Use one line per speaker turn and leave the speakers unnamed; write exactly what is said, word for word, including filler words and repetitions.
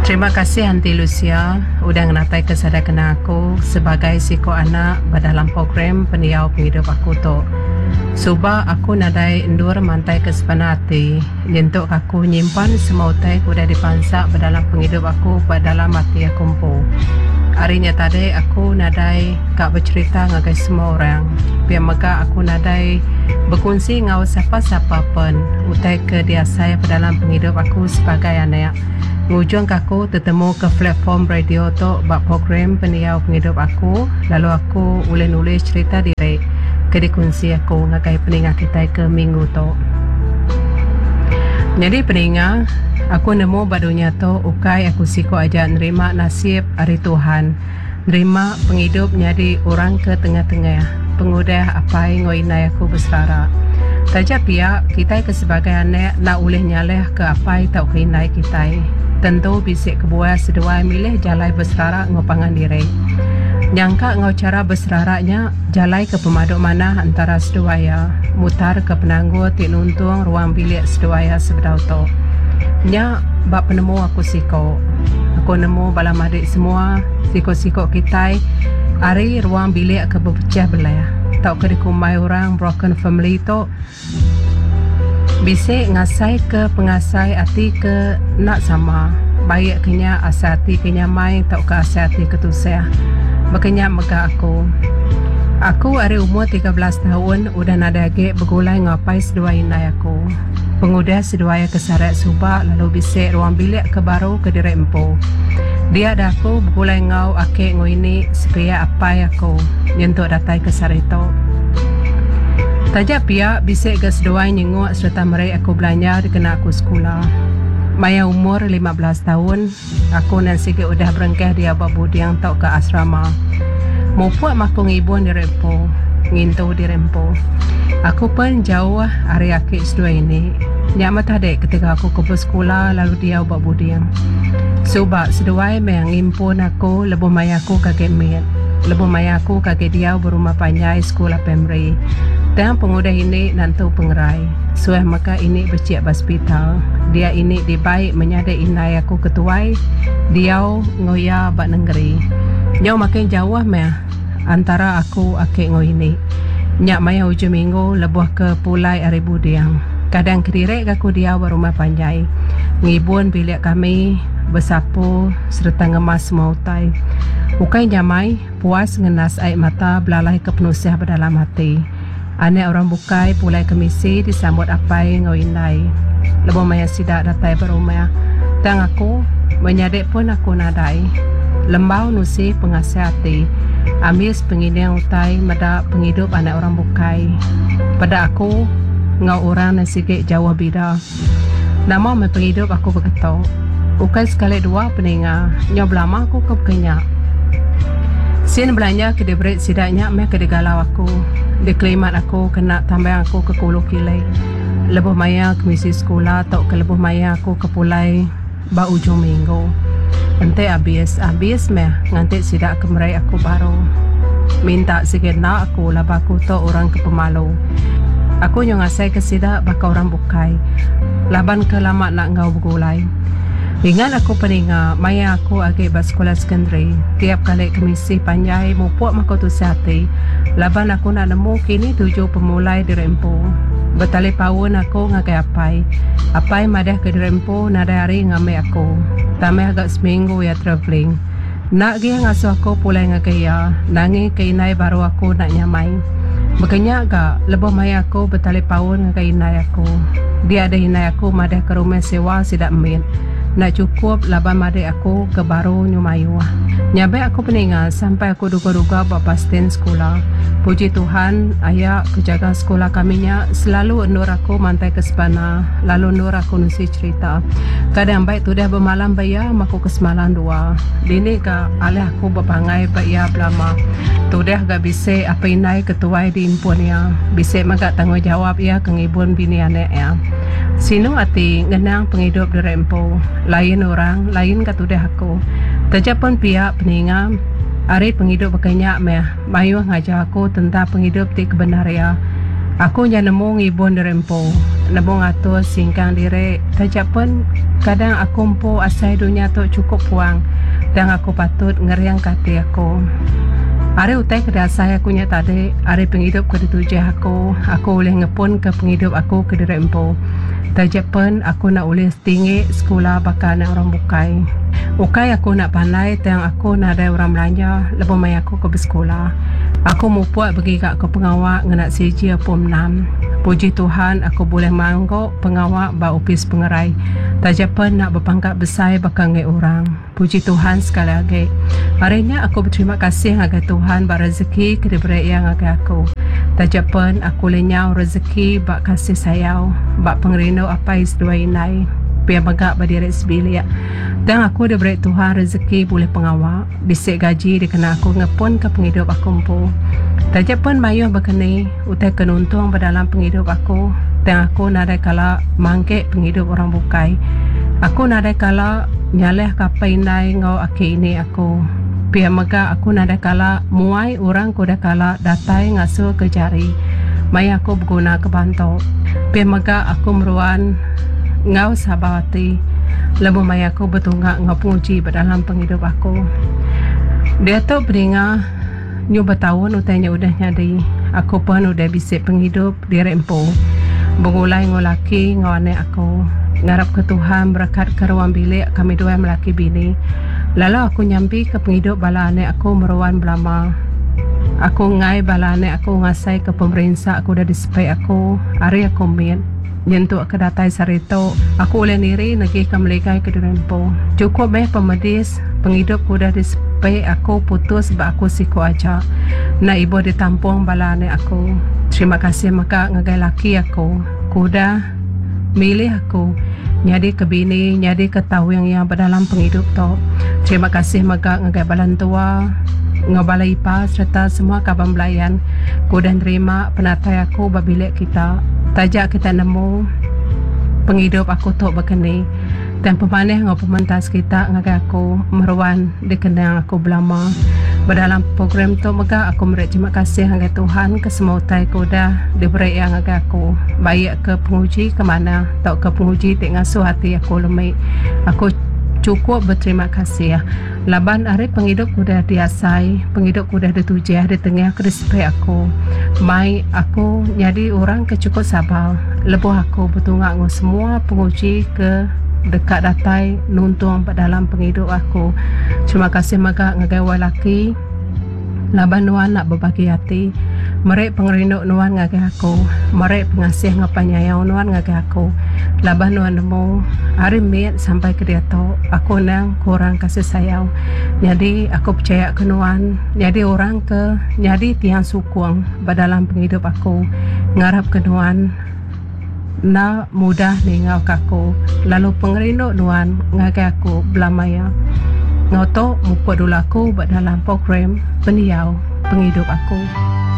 Terima kasih Aunty Lucia udah ngenataika sada kenang aku sebagai siku anak ba dalam program Pendiau Pengidup Aku tu. Suba aku nadai endur mantaika sebana ati nyentuk aku nyimpan semua utai ke udah dipansa ba dalam pengidup aku ba dalam ati aku empu. Ari nya tadi aku nadai ka becherita ngagai semua orang. Pia mega aku nadai bekunsi enggau sapa-sapa pen utai ke diasai ba dalam pengidup aku sebagai anak. Ngujungka aku tetemuka platform radio tu ba program Pendiau Pengidup Aku lalu aku ulih nulis cherita diri ke dikunsi aku ngagai peninga kitai ke minggu tu. Nyadi peninga, aku nemu ba dunya tu ukai aku siku aja nerima nasib ari Tuhan, nerima pengidup nyadi orang ke tengah-tengah pengudah apai enggau indai aku beserara. Taja pia, kitai ke sebagai anak enda ulih nyalahka apai tauka indai kitai. Tentu bisi kebuah seduai milih jalai beserara enggau pangan diri. Nyangka enggau chara beserara nya jalai ke pemadu manah entara seduai iya mutarka penanggul ti nuntung ruang bilik seduai iya sebedau tu. Nya ba penemu aku siko. Aku nemu bala madik semua siko-siko kitai ari ruang bilik ke bepechah belah tauka dikumbai orang broken family tu bisi ngasaika pengasai ati ke enda sama baik ke nya asai ati ke nyamai tauka asai ati ke tusah. Baka nya mega aku. Aku ari umur tiga belas taun udah nadai agi begulai enggau apai seduai indai aku. Pengudah seduai ke sarak suba lalu bisi ruang bilik ke baru ke diri empu. Dia da aku begulai enggau aki enggau ini sepiak apai aku nyentuk datai ke sehari tu. Taja pia bisi ga seduai nyenguk sereta meri aku belanja dikena aku sekula. Maya umur lima belas taun, aku endang sigi udah berengkah diau ba buding tauka asrama. Mupuk meh aku ngibun diri empu, ngintu diri empu. Aku pen jauh ari aki seduai ini. Nya meh tadi ketegal aku ke besekula lalu diau ba buding. Suba seduai meh ngimpun aku lebuh maya aku ke agi mit. Lebuh maya aku ke agi diau ba rumah panjai sekula primary. Tang pengudah ini nentu pengerai. Suah mega ini bechik ba sepital. Dia ini dibai menyadi indai aku ke tuai diau enggau iya ba nengeri. Nyau makin jauh meh antara aku aki enggau ini. Nya maya ujung minggu lebuh ke pulai ari buding. Kadang kediri ga aku diau ba rumah panjai. Ngibun bilik kami, besapu sereta ngemas semua utai. Ukai nyamai, puas ngendas ai mata belalai ke penusah ba dalam ati. Anak orang bukai pulai kemisi disambut apai enggau indai lebuh maya sida datai ba rumah. Tang aku, menyadi pun aku nadai. Lembau nusi pengasih ati, ambis pengining utai meda pengidup anak orang bukai. Peda aku enggau orang ne sigi jauh bida. Nama meh pengidup aku beketu. Ukai sekali dua peninga, nyau belama aku ke baka nya. Sin belanja ke diberi sida nya meh ke digalau aku, dikelimat aku kena tambang aku ke kulu kili lebuh maya kemisi sekula tauka lebuh maya aku ke pulai ba ujung minggu. Enti abis, abis meh nganti sida ke meri aku baru. Minta sigi enda aku laban aku tu orang ke pemalu. Aku nyau ngasaika sida baka orang bukai laban ke lama enda enggau begulai. Ingat aku peninga maya aku agi ba sekula sekondari, tiap kali kemisi panjai mupuk meh aku tusah ati laban aku enda nemu kini tuju pemulai diri empu. Betalipaun aku ngagai apai. Apai madahka diri empu nadai hari ngambi aku. Tambah ga seminggu iya travelling. Enda agi iya ngasuh aku pulai ngagai iya, nangika indai baru aku enda nyamai. Baka nya ga, lebuh maya aku betalipaun ngagai indai aku. Dia deh indai aku madahka rumah sewa sida mit enda chukup laban madik aku ke baru nyu mayuh. Nyabak aku peninga sampai aku duga-duga ba bus stand sekula. Puji Tuhan, aya ke jaga sekula kami nya selalu endur aku mantaika sebana lalu endur aku nusi cherita. Kadang baik tudah bemalam ba iya meh aku ke semalam dua. Dini ga alih aku bepangai ba iya belama. Tudah ga bisi apai indai ke tuai diimpun iya. Bisi mega tanggungjawab iya ke ngibun bini anak iya. Sinu ati ngenang pengidup diri empu. Lain orang, lain ga tudah aku. Taja pun pia peninga, ari pengidup baka nya meh mayuh ngajar aku tentang pengidup ti kebendar iya. Aku nya nemu ngibun diri empu, nemu ngatur singkang diri taja pen kadang aku empu asai dunya tu chukup puang tang aku patut ngeringka ati aku. Ari utai ke diasai aku nya tadi, ari pengidup ke ditujah aku, aku ulih ngepunka pengidup aku kediri empu. Taja pen aku enda ulih setinggi sekula baka anak orang bukai. Ukai aku enda pandai tang aku nadai orang belanja lebuh maya aku ke besekula. Aku mupuk begiga ke pengawa ngena sijil pom enam. Puji Tuhan aku bulih manggu pengawa ba opis pengerai taja pen enda bepangkat besai baka enggai orang. Puji Tuhan sekali agi. Ari nya aku beterima kasih ngagai Tuhan ba rezeki ke diberi Iya ngagai aku. Taja pen aku lenyau rezeki ba kasih sayau ba pengerindu apai seduai indai pia mega ba diri sebilik. Tang aku diberi Tuhan rezeki bulih pengawa, bisi gaji dikena aku ngepunka pengidup aku empu. Taja pen mayuh bekeni utai ke nuntung ba dalam pengidup aku, tang aku nadai kala mangki pengidup orang bukai. Aku nadai kala nyalahka apai indai enggau aki ini aku. Pia mega aku nadai kala muai orang ke udah kala datai ngasulka jari maya aku begunaka bantu. Pia mega aku meruan enggau sabar ati lebuh maya aku betunga enggau penguji ba dalam pengidup aku. Diatu peninga nyu betaun utai nya udah nyadi. Aku pen udah bisi pengidup diri empu begulai enggau laki enggau anak aku. Ngarapka Tuhan berekatka ruang bilik kami duai melaki bini. Lalu aku nyampika pengidup bala anak aku meruan belama. Aku enggai bala anak aku ngasaika pemerinsa ke udah disepi aku ari aku mit nyentuk ke datai sehari tu. Aku ulih niri negika meligai kediri empu. Chukup meh pemedis pengidup ke udah disepi aku putus ba aku siku aja. Enda ibuh ditampung bala anak aku. Terima kasih mega ngagai laki aku ke udah milih aku nyadika bini nyadika tawing iya ba dalam pengidup tu. Terima kasih mega ngagai bala entua enggau bala ipar sereta semua kaban belayan ke udah nerima penatai aku ba bilik kita. Taja kita nemu pengidup aku tu baka ni tang pemanah enggau pementas kita ngagai aku meruan dikenang aku belama. Ba dalam program tu mega aku meri terima kasih ngagai Tuhan ke semua utai ke udah diberi Iya ngagai aku baik ke penguji ke manah tauka penguji ti ngasuh ati aku lemi. Aku chukup beterima kasih laban ari pengidup ke udah diasai, pengidup ke udah ditujah ditengah ke disepi aku mai aku nyadi orang ke chukup sabar lebuh aku betunga enggau semua penguji ke deka datai nuntung ba dalam pengidup aku. Terima kasih mega ngagai wai laki laban nuan enda bebagi ati meri pengerindu nuan ngagai aku, meri pengasih enggau penyayau nuan ngagai aku laban nuan nemu ari mit sampai ke diatu aku endang kurang kasih sayau. Nyadi aku pechaya ke nuan nyadi orang ke nyadi tiang sukung ba dalam pengidup aku. Ngarap ke nuan enda mudah ninggalka aku lalu pengerindu nuan ngagai aku belama iya. Enggau tu mupuk dulu aku ba dalam program pendiau pengidup aku.